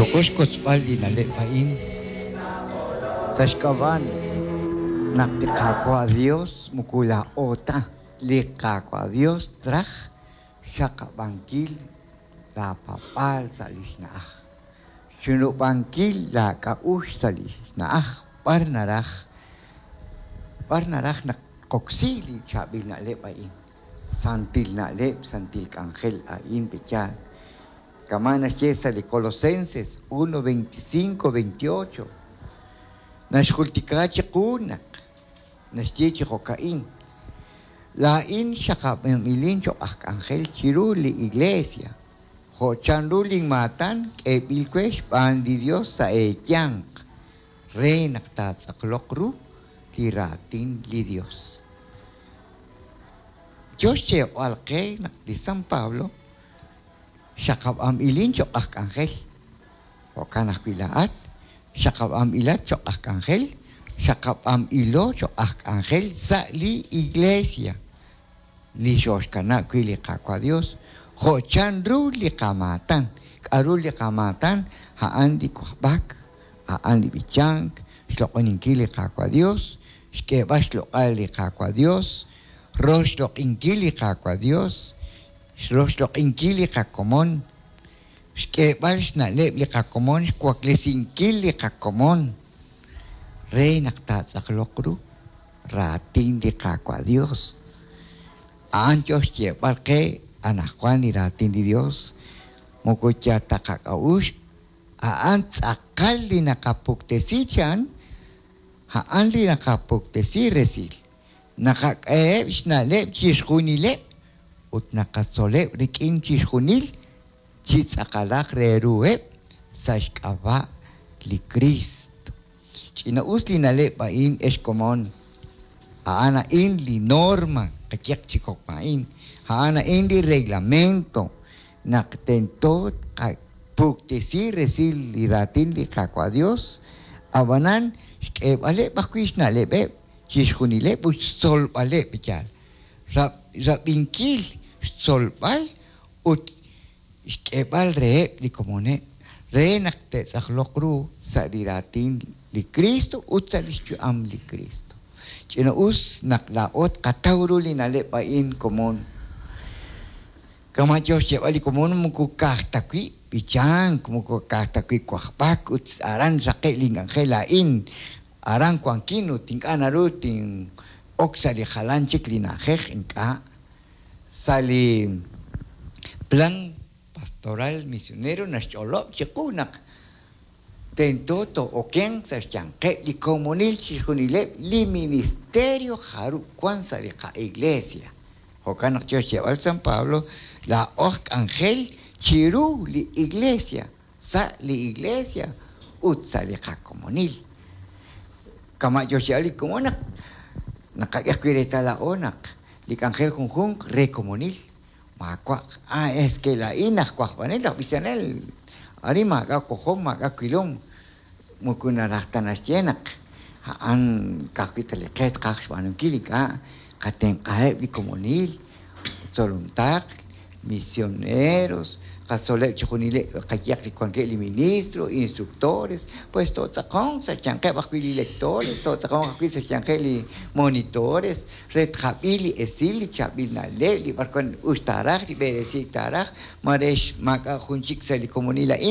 Yoko xkotzb'al li na'leb' a'in sa' xk'ab'a' naq li Qaawa' Dios moko laa'o ta, li Qaawa' Dios traj xxaqab'ankil laa paab'aal sa' lix na'aj, xchunub'ankil laa k'a'uxl sa' lix na'aj b'ar naraj b'ar naraj naq tqoksi li chaab'il na'leb' a'in, santil na'leb', santil k'anjel a'in pe'yaal. Kama' naxye sa' li Colosenses 1, 25, 28, naxjultika chiqu naq naxye chi jo'ka'in, Laa'in xaqab'anb'ilin cho'q aj k'anjel chiru li Iglesia, jo' chanru linmaatan k'eeb'il we xb'aan li Dios sa' eeyanq, re naq taatz'aqloq ru li raatin li Dios. Yo xyeeb'al qe naq li San Pablo xaqab'anb'ilin cho'q aj k'anjel, jo'kan ajwi' laa'at xaqab'anb'ilat cho'q aj k'anjel, xaqab'anb'ilo cho'q aj k'anjel sa' li Iglesia li xooxkanab' wi' li Qaawa' Dios, jo' chanru li qamaatan. K'aru li qamaatan? A'an li wajb'ak, a'an li b'ichank, xloq'oninkil li Qaawa' Dios, xk'eeb'al xloq'al li Qaawa' Dios, roxloq'inkil li Qaawa' Dios, roxloq'inkil li qakomon, xk'eeb'al xna'leb' li qakomon, xwaklesinkil li qakomon re naq taatz'aqloq ru raatin li Qaawa' Dios. A'an yo xyeeb'al qe anaqwan li raatin li Dios, moko yal ta qak'a'uxl, a'an tz'aqal li naqapuktesi chan, a'an li naqapuktesi resil. Naqak'eheb' xna'leb' chixjunileb' ut naqatzoleb' rik'in chixjunil chi tz'aqalaq re ruheb' sa' xk'ab'a' li Kriist. Ch'ina'us li na'leb' a'in, ex komon. A'an a'in li norma, qayehaq chi jo'ka'in, a'an a'in li reglamento naq tento tqapuktesi resil li raatin li Qaawa' Dios, ab'anan xk'eeb'aleb' ajwi' xna'leb'eb' chixjunileb' ut xtzolb'aleb' yaal. Rab'inkil, xtzolb'al ut xk'eeb'al reheb' li komoneb' re naq te'tz'aqloq ru sa' li raatin li Kristo ut sa' lix yu'am li Kristo. Ch'ina'us naq laa'o tqataw ru li na'leb' a'in, komon. Kama' yo xyeeb'al li komon, moko ka'aj ta wi' b'ichank, moko ka'aj ta wi' wajb'ak ut aran xraqe' link'anjel laa'in, aran wankin ut ink'a' naru tin'ok sa' li jalan chik li na'ajej, ink'a'. Sa' li Plan Pastoral Misionero naxch'olob' chiqu naq tento too'okenq sa' xyanqeb' li komonil chixjunileb' li ministerio jarub' wan sa' li qa'iglesia. Jo'kan naq yo xyeeb'al San Pablo, laa'o aj k'anjel chiru li Iglesia, sa' li Iglesia ut sa' li qakomonil. Kama' yo xyeeb'al li komon naq naqak'e ajwi' reetal laa'o naq li k'anjel junjunq re komonil maawa' ah es que laa'in aj wajb'anel, aj b'ichanel, arin maak'a' wojom, maak'a' wilom, moko naraj ta naxye naq a'an ka'ajwi' ta li qe tqaj xb'aanunkil, ink'a' qatenq'aheb' li komonil, tzolomtaql, misioneros, qatzoleb' chixjunileb' qayehaq li wankeb' li ministro, instructores, pues tootz'aqonq sa' xyanqeb' ajwi' li lectores, tootz'aqonq ajwi' sa' xyanqeb' li monitores, re tqab'i li esil, li chaab'il na'leb', li b'arwan us taaraj, li b'eresiik taaraj, mare maak'a' jun chik sa' li komonil a'in.